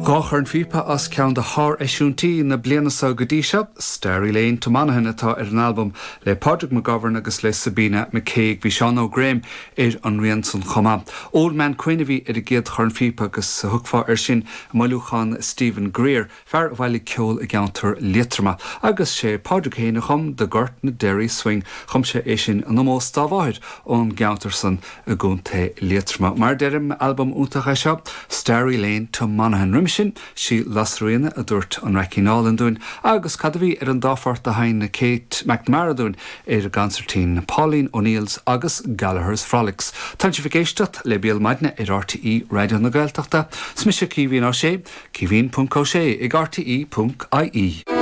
Dá chornphíopa as ceann de shár-eisiúintí na bliana seo go dtí seo, Starry Lane to Monaghan atá ar an albam le Pádraig McGovern agus le Sabina McCague. Bhí Seán Óg Graham ar an rian san chomh maith. Old Man Quinn a bhí ar an gcéad chornphíopa agus thiocfá air sin i mbailiúchán Stephen Greer, fear a bhailigh ceol i gceantar Liatroma. Agus sé Pádraig féin a chum The Gortnaderry Swing, chum sé é sin in omós dá mháthair ón gceantar san i gContae Liatroma. Mar a deirim, albam iontach é seo, Starry Lane to Monaghan. Roimhe sin, sí Lasairíona a dúirt an Raicín Álainn dúinn agus cad a bhí ar an dá phort a sheinn Kate McNamara dúinn ar an gconsairtín, Pauline O'Neill's agus Gallagher's Frolics. Tánn sibh ag éisteacht le Béal Maidine ar RTÉ Raidió na Gaeltachta. 'S mise Caoimhín Ó Sé, Caoimhín ponc Ó Sé ag rte ponc ie.